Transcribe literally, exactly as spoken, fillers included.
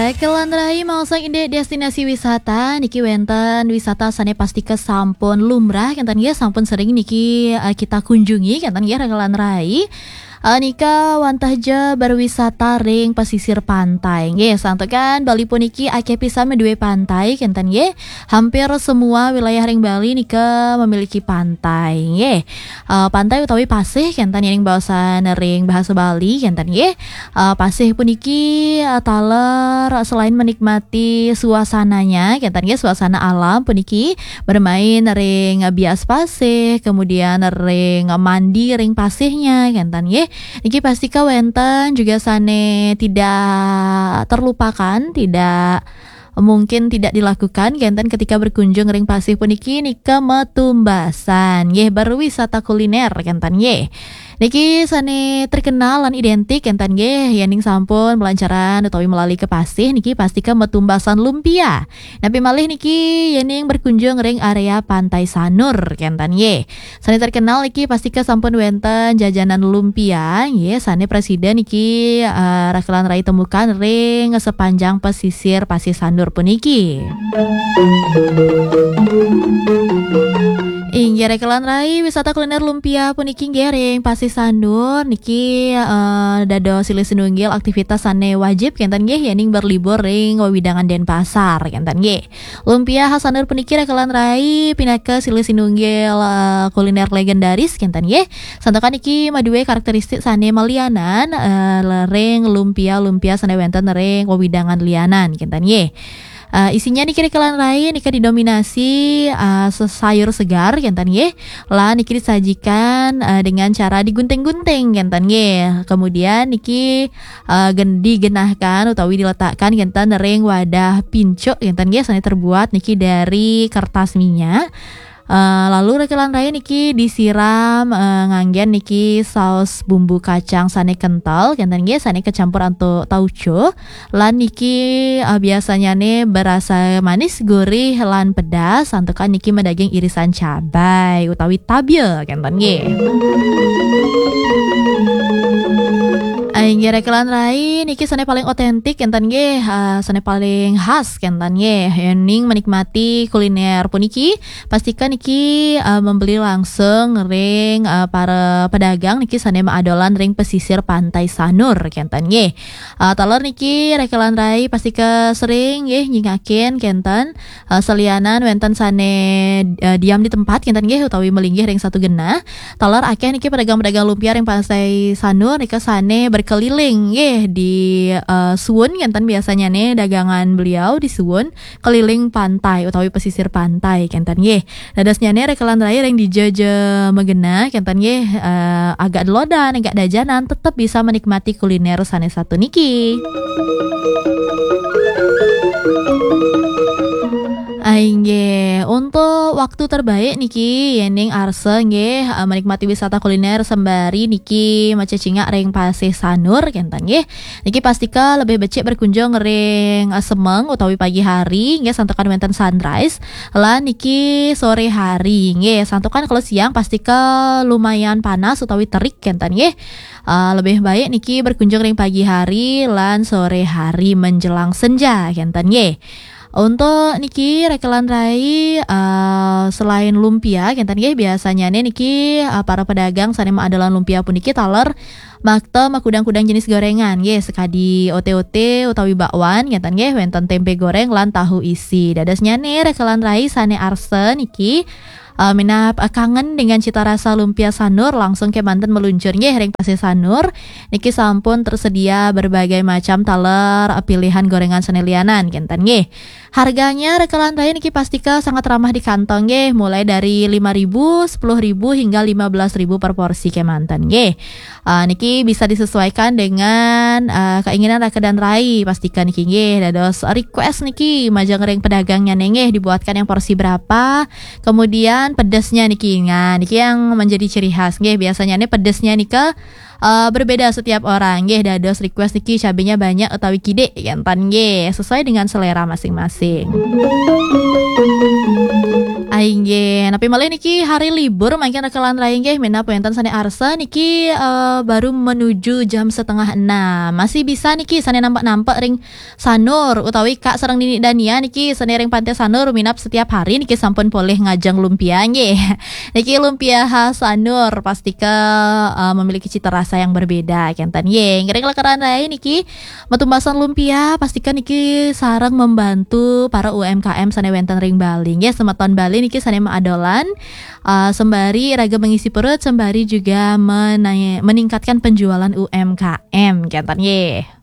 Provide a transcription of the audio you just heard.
Rekelan rai, maosang indik destinasi wisata, niki wénten wisata sané pastika sampun lumrah kénten nggih, sampun sering niki, eh, kita kunjungi kénten nggih, rekelan rai. Eh, nika wantah ja berwisata ring pesisir pantai. Nggih, santukan Bali puniki akéh pisan madué pantai kénten nggih. Hampir semua wilayah ring Bali nika memiliki pantai. Nggih. Eh, pantai utawi pasih kénten ring baosan ring bahasa Bali kénten nggih. Eh, pasih puniki, eh, taler selain menikmati suasananya, kénten nggih, suasana alam puniki, bermain ring bias pasih, kemudian ring mandi ring pasihnya, kénten nggih. Niki pastika wénten juga sané tidak terlupakan, tidak mungkin tidak dilakukan, kénten ketika berkunjung ring pasih puniki, nika matumbasan, nggih, berwisata kuliner, kénten nggih. Niki sané terkenal lan identik, kénten nggih, yéning sampun malancaran utawi malali ka pasih, niki pastika matumbasan lumpia. Napi malih niki yéning berkunjung ring area Pantai Sanur, kénten nggih. Sané terkenal niki pastika sampun wénten jajanan lumpia, nggih, sané prasida niki, eh, rekelan rai temukan ring sepanjang pesisir Pasih Sanur puniki. Inggih, rekelan rai, wisata kuliner lumpia puniki nggih ring Pasih Sanur niki, eh, dados silih sinunggil aktivitas sané wajib kénten nggih yéning berlibur ring wewidangan Denpasar kénten nggih. Lumpia khas Sanur puniki rekelan rai pinaka silih sinunggil, eh, kuliner legendaris kénten nggih. Santukan niki madué karakteristik sané malianan, eh, ring lumpia-lumpia sané wénten ring wewidangan lianan kénten nggih. Eh, isinya niki rekelan rai nika didominasi, eh, sesayur segar kénten nggih. Lan niki disajikan, eh, dengan cara digunting-gunting kénten nggih. Kemudian niki, eh, gen-, digenahkan utawi diletakkan kénten ring wadah pincuk kénten nggih, sané terbuat niki dari kertas minyak. Eh, lalu rekelan rai niki disiram, eh, nganggén niki saus bumbu kacang sané kental kénten nggih, sané kacampur antuk tauco. Lan niki, eh, biasanya né berasa manis, gurih, lan pedas. Santukan niki madaging irisan cabai utawi tabia kénten nggih. Inggih rekelan rai niki sané paling otentik kénten nggih, eh, sané paling khas kénten nggih. Yéning menikmati kuliner puniki, pastika niki, eh, membeli langsung ring, eh, para pedagang niki sané maadolan ring pesisir Pantai Sanur kénten nggih. Eh, taler niki rekelan rai pastika sering nggih nyingakin kénten. Eh, salianan wénten sané, eh, diam di tempat kénten nggih utawi malinggih ring satu genah. Taler akéh niki pedagang-pedagang lumpia ring Pasih Sanur nika sané berkeliling nggih di, eh, suun kénten biasanya né dagangan beliau di suun keliling pantai utawi pesisir pantai kénten nggih. Dadosnyané rekelan rai ring dija ja magenah kénten nggih, eh, agak delodan, agak dajanan, tetep bisa menikmati kuliner sané satu niki. Ah, inggih. Untuk waktu terbaik niki, yéning arsa nggih, eh, menikmati wisata kuliner sembari niki macecingak ring Pasih Sanur, kénten nggih. Niki pastika lebih becik berkunjung ring, eh, semeng utawi pagi hari, nggih, santukan wénten sunrise. Lan niki sore hari, nggih, santukan kalau siang pastika lumayan panas utawi terik, kénten nggih. Eh, lebih baik niki berkunjung ring pagi hari lan sore hari menjelang senja, kénten nggih. Untuk niki rekelan rai, eh, selain lumpia, kénten nggih, biasanya né niki, eh, para pedagang sané maadolan lumpia puniki taler makta makudang-kudang jenis gorengan, nggih, sakadi ote-ote utawi bakwan, kénten nggih, wénten tempe goreng lan tahu isi. Dadosnya né rekelan rai sané arsa niki, eh, minab, eh, kangen dengan cita rasa lumpia Sanur, langsung kémanten meluncur nggih ring Pasih Sanur. Niki sampun tersedia berbagai macam taler, eh, pilihan gorengan sané lianan, kénten nggih. Harganya rekelan rai niki pastika sangat ramah di kantong nggih, mulai dari lima ribu, sepuluh ribu hingga lima belas ribu per porsi kémanten nggih. Ah, niki bisa disesuaikan dengan, ah, keinginan rekelan rai, pastika niki nggih. Dados request niki majeng ring pedagangnya né nggih, dibuatkan yang porsi berapa, kemudian pedesnya niki. Nah, niki yang menjadi ciri khas nggih. Biasanya né pedesnya nika, eh, berbeda setiap orang nggih. Dados request niki cabenya banyak utawi kidik, kénten nggih, sesuai dengan selera masing-masing. Inggih, napi malih niki hari libur mangkin raka lan rai nggih, minab wénten sané arsa niki eh, baru menuju jam setengah enam. Masih bisa niki sané nampek-nampek ring Sanur utawi Kak sareng Nini Dania niki sané ring Pantai Sanur minab setiap hari niki sampun polih ngajeng lumpia nggih. Niki lumpia khas Sanur pastika eh, memiliki cita rasa yang berbeda kénten nggih. Ngiring raka lan rai niki matumbasan lumpia pastika niki sareng membantu para U M K M sané wénten ring Bali nggih. Semeton Bali niki sané maadolan eh, sembari raga mengisi perut sembari juga menai- meningkatkan penjualan U M K M kénten nggih.